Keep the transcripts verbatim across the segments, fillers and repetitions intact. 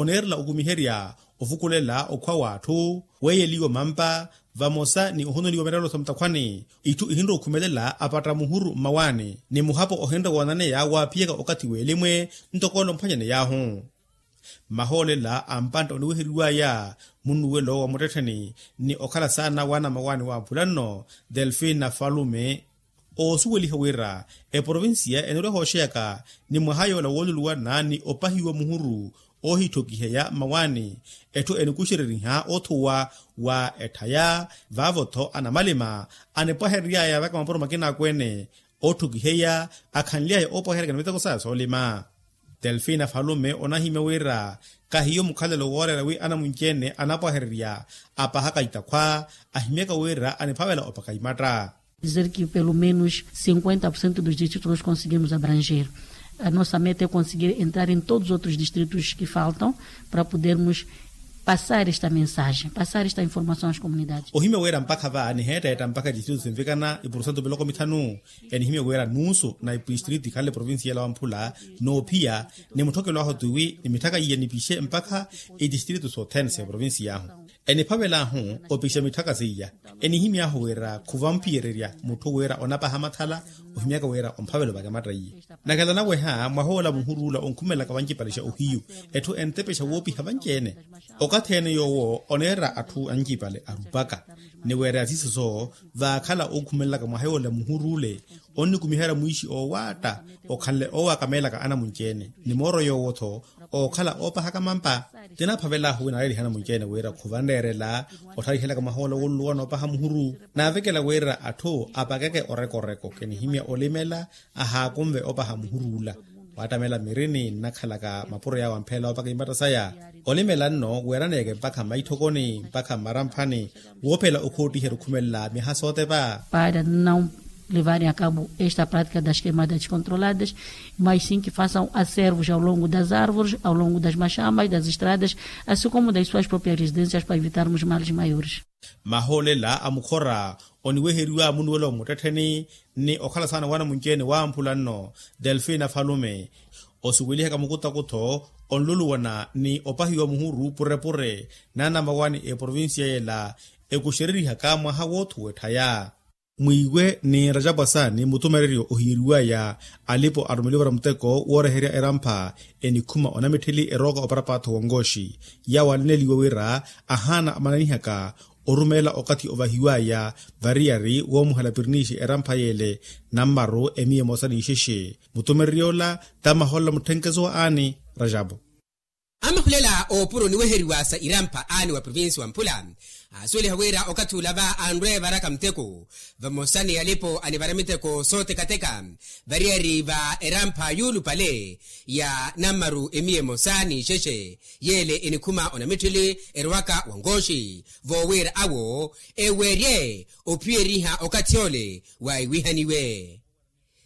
oneerela okumiherya ovukulela okhwa w'atthu, weeyeliwa mampa vamosa ni ohononiwa mirelo sa mutakhwani. Itthu ihinre okhumelela apatta muhuru mmawaani ni muhapo ohinre woonaneya waaphiyaka okathi w'elimwe ntoko ole omphwanyaney'ahu. Mahoolela a mpantta oniweheriw'aya munnuwelo wa muttettheni ni okhala saana w'anamawaani wamphula nno, delfina falume, oosuweliha wira eprovincia enirwa ehooxeyaka ni mwaha yoola wooluluwana ni opahiwa muhuru oohittokiheya mmawaani. Etthu enikuxereriha othuwa wa etthaya vaavo-tho anamalima anipwaherery'aya vaka mapuro makina akweene ootthokiheya akhanly'aya oopaheryaka ni miteko saya soolima. Delfina falume onahimya wira kahiyo mukhalelo wooreera wi anamunci-ene anapwahererya apahaka itakhwa ahimyaka wira aniphavela opaka imatta. Dizer que pelo menos cinquenta por cento dos distritos nós conseguimos abranger. A nossa meta é conseguir entrar em todos os outros distritos que faltam para podermos passar esta mensagem, passar esta informação às comunidades. Ohimya wira mpakha va niheetteetta mpakha distritu sinvikana ipurusentu miloko mithanu. Enihimya wira nuusu na ipistriti ikhanle provincia ela wamphula noophiya ni mutthokelo ahu tiwi ni mitthaka iya nipixe mpakha itistriti sothene sa eprovincia ahu. Eniphavel'ahu opixa mitthaka seiya. Enihimy'ahu wira khuvamphiyererya mutthu wira onapaha mathala ohimyaka wira omphavela opaka ematta iye. Nakhala naweha mwahoola muhuruula onkhumelelaka vancipalexa ohiyu etthu entepexa woopiha vanci-ene. Okathi-ene yoowo oneera atthu ancipale arupaka ni weereya siiso soowo vaakhala onkhumelelaka mwaha yoola muhuruule onnikumiherya mwiixi oowaatta okhanle oowakameelaka anamunci-ene ni mooro yoowo-tho ookhala oopahaka mampa. Tinaphavel'ahu wi naaleeliha anamunci-ene wira khuvanreerela otthalihelaka mwaha ola wooluluwana opaha muhuru. Naavekela wira atthu apakeke orekoreko kinihimya olimela ahaakunve opaha muhuruula. Waattamela mirini nnakhalaka mapuro yaawo ampheela opaka imatta saya olimela nno weeraneeke mpakha mmaitthokoni mpakha mmaramphani woophela okhoottiherya okhumelela myaha sootepa. Para não levarem a cabo esta prática das queimadas descontroladas, mas sim que façam acervos ao longo das árvores, ao longo das machamas, das estradas, assim como das suas próprias residências para evitarmos males maiores. Mahoolela a mukhora oniweheriwa munnuwelo muttettheni ni okhala saana w'anamunci-ene wamphula nno delfina falume osuwelihaka mukutakutho onluluwana ni opahiwa muhuru purepure n'anamawaani eprovincia yela ekuxererihaka mwaha woothuwa etthaya. Mwiiwe ni rajapu asaani mutumereryo ohiyeriw'aya alipo arumeliwa para muteko wooreherya erampha enikhuma onamitthili erooka oparapaatho wa nkooxi yaawo alineliwe wira ahaana amananihaka orumelela okathi ovahiw'aya variyari woomuhela piriniixi erampha yeele nammaru emiya emosa n'ixexe. Mutumerery'ola tamahoolela mutthenkeso aani rajapu. Amahulela oopuro niweheriwa sa irampha aani wa provinsi wa mphula aasuweliha wira okathi ula va anrwe evaraka muteko vamosa ni alipo anivara miteko sootekateka variyari va erampha yuulupale ya nammaru emiya emosa n'ixexe yeele enikhuma onamitthili erowaka wa nkooxi voowira awo eweerye ophiyeriha okathi ole waahiwihaniwe.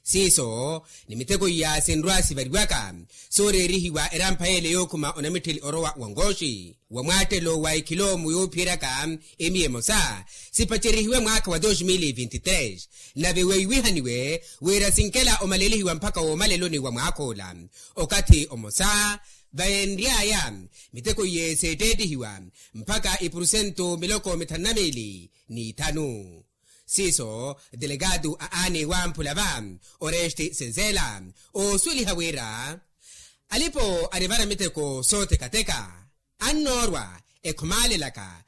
Siiso ni miteko iya sinrwa sivariwaka sooreerihiwa erampha yeele yookhuma onamitthili orowa wa nkooxi wa mwaattelo wa ekhiloomu yoophiyeryaka emiya emosa sipacerihiwe mwaakha wa dos mil e vinte e tres nave weiwihaniwe wira sinkela omalelihiwa mpakha woomaleloni wa mwaakha ola okathi omosa vayenry'aya miteko iye seetteettihiwa mpakha ipurusentu miloko mithanu na miili n'ithanu. Siiso delegado a aani wamphula va oreste senzela oosuweliha wira alipo anivara miteko sootekateka annoorwa ekhumaalelaka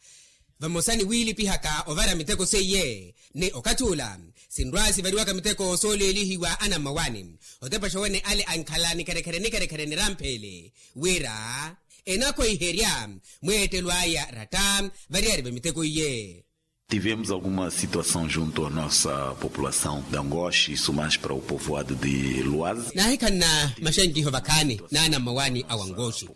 vamosa ni wiilipihaka ovara miteko seiye ni okathi ula sinrwa sivariwaka miteko sooleelihiwa anammawaani otepaxa wene ale ankhala nikherekhere nikherekhere nirampheele wira enakhweiherya mweettelo aya ratta variyari va miteko iye. Tivemos alguma situação junto à nossa população de Angoche, isso mais para o povoado de Luazi. Naahikhanna maxankiho vakhaani n'anammawaani a wangoxi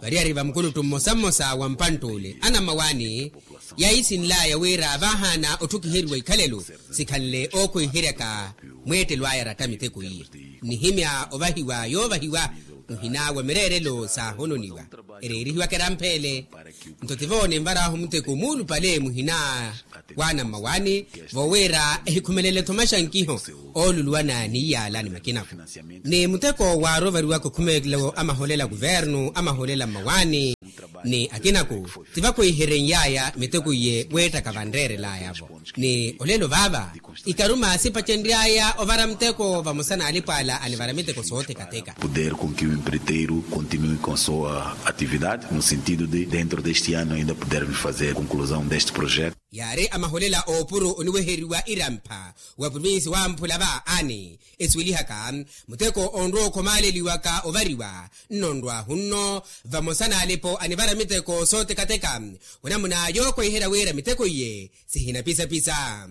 variyari va mukuluttu mmosa mmosa wa mpantt'ule anammawaani yaisinl'aya wira vaahaana otthukiheriwa ikhalelo sikhanle ookhweiheryaka mweettelo aya ratta miteko iye nihimya ovahiwa yoovahiwa muhina wa mireerelo saahononiwa ereerihiwaka erampheele. Nto tivo ninvar'ahu muteko muulupale muhina w'anammawaani voowira ehikhumelele-tho maxankiho ooluluwana ni iyaala ni makinako ni muteko waarovariwaka okhumelo amaholela kuvernu amaholela mmawaani. Ni akinaku ti vakhwiiherenyaaya miteko iye weettaka vanreerelaya-vo. Ni olelo vaava ikaruma sipacenryaya ovara muteko vamosa n'alipo ala anivara miteko soothekatheka. Puder com que o empreiteiro continue com sua atividade no sentido de dentro deste ano ainda pudermos fazer conclusão deste projeto. Yaari amaholela oopuro oniweheriwa irampha wa provinsi wamphula vaani, esuwelihaka muteko onrowa okhomaleliwaka ovariwa nnonrwahu nno vamosa n'alipo anivara miteko sootekateka. Onamuna yookhweiherya wira miteko iye sihinapisapisa.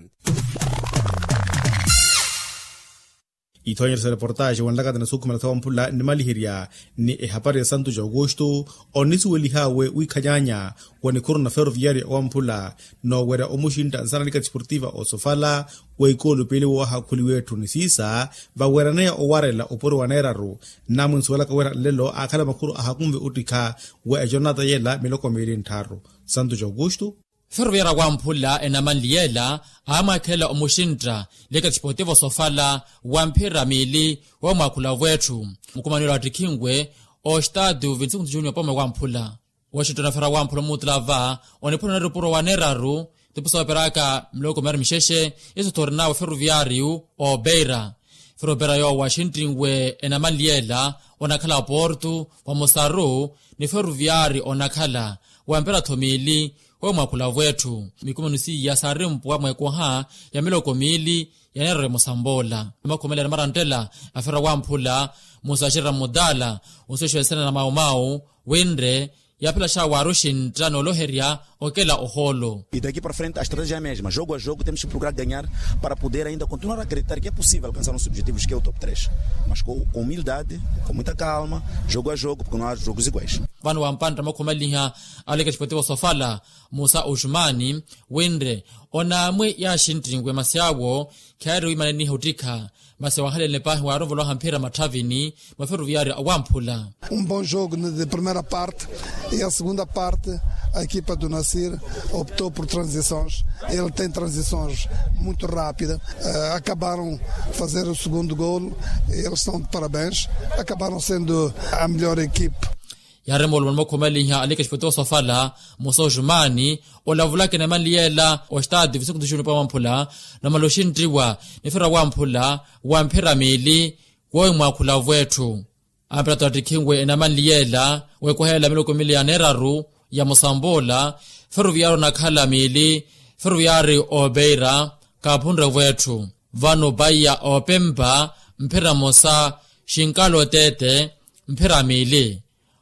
Ithoonyerya sa reportaaxi wanlakata na sukhumela sa wamphula nnimaliherya ni ehapari ya santu ja aukustu, onisuwelihawe wiikhanyaanya wa nikhuru na ferroviario awamphula noowerya omuxintta nsana nika disportiva osofala wa ikoolo piili woohakhuliwa etthu ni siisa vaweeraneya owarela opuro wa neeraru. Nnamwinsuwelaka wira nlelo aakhala makhuru ahakunve ottikha wa ejonata yela miloko miili nttharu. Santu ja aukustu. Ferroviario awamphula enamanli yela aamwaakhelela omuxintta nika disportiva osofala wa mphira miili womwaakhula wetthu. Mukumani ola wattikhinwe ostadio vinti sinku junior pome wamphula. Washington afera wamphula omuutula va oniphuna onari opuro wa neeraru tipusa operaka miloko miyaari mixexe. Iso thorina wa ferroviario obeira. Ferroviario yoowa axinttinwe enamanli yela onakhala porto vamosaru ni ferroviario onakhala wa mpira tho miili womwaakhula wetthu. Mikumani siiya saari mpwa mweekoha ya miloko miili ya neeraru emosa mbola. Ni makhumela ni maranttela afera wamphula musaxerera mudala onsuwexewa nsana na maumau winre yaaphela xawaari oxintta nooloherya okela ohoolo. E daqui para frente a estratégia é a mesma, jogo a jogo temos que procurar ganhar para poder ainda continuar a acreditar que é possível alcançar nossos objetivos que é o top três, mas com humildade, com muita calma, jogo a jogo porque não há jogos iguais. Vano wampantta mwakhumaliha aleketipoti vosofala musa oxumani winre onaamwi yaaxinttinwe masi awo khaari wiimaneniha ottikha. Masi wahalelene paahi waaronvolowa hamphira matthavini mwa ferroviario awamphula. Um bom jogo de primeira parte e a segunda parte a equipa do nasir optou por transições. Ele tem transições muito rápidas. Acabaram fazer o segundo golo. Eles são de parabéns. Acabaram sendo a melhor equipa. Yaaremwa olumwa ni mwakhumaliha aleketipoti vosofala musa oxumani olavulaka enamanli yeela ostadio visinkutu xunipa wamphula. Namala oxinttiwa nifira wamphula wa mphira miili woowi mwaakhula wetthu. Ampira tattikhinwe enamanli yeela wekohelela miloko miili ya neeraru ya musamboola ferroviario onakhala miili ferroviario obeira. Kaaphunre wetthu vano paiya opempa mphira mosa xinkala oteete mphira miili.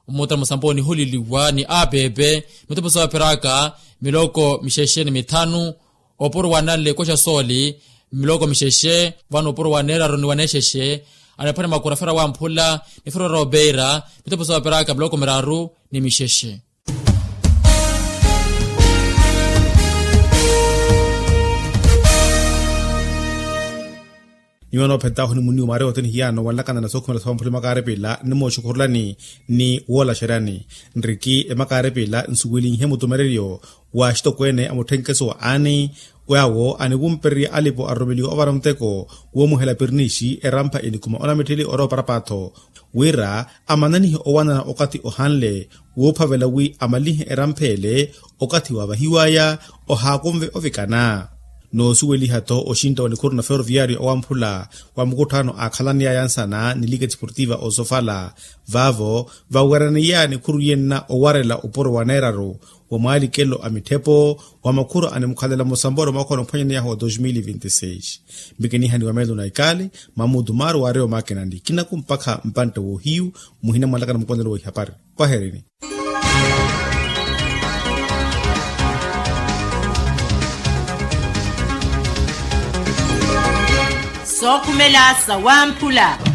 Mmuttala musampa onihuliliwa ni apepe mitupho sooperaka miloko mixexe ni mithanu. Opuro wa nanle koxa sooli miloko mixexe vano opuro wa neeraru ni wa neexexe. Anaphwanya makura fera wamphula ni fera wara opeira mitupho sooperaka miloko miraru ni mixexe. Nyuwa noophentaahu ni muniwo maari ote nihiyaano wanlakana na sookhumela sa wamphula emakaaripila nnimooxukhurulani ni woolaxeryani nriki emakaaripila nsuwelinhe mutumereryo wa axitokweene a mutthenkeso wa aani. Yaawo aniwumpererya alipo aroromeliwa ovara muteko woomuhela piriniixi erampha enikhuma onamittheli orowa oparapaatho wira amananihe owanana okathi ohanle woophavela wi amalihe erampha ele okathi waavahiwaya ohaakunve ovikana. Noosuweliha-tho oxintta wa nikhuru na ferroviario awamphula wa mukutthaano aakhalaneyaya nsana ni liga desportiva osofala vaavo vaweraneyaya nikhuru yenna owarela opuro wa neeraru wa mwaalikelo a mitthepo wa makhuru animukhalela musamboro mwakhona ophwanyaneyahu wa dos mil e vinte e seis. Mbikinihani wa meelo na ikali mamuudu maaru waarewa maakinani kinaku mpakha mpantte woohiyu muhina mwanlakana mukonelo wa ihapari. Pwaherini. Sookhumela sa wamphula.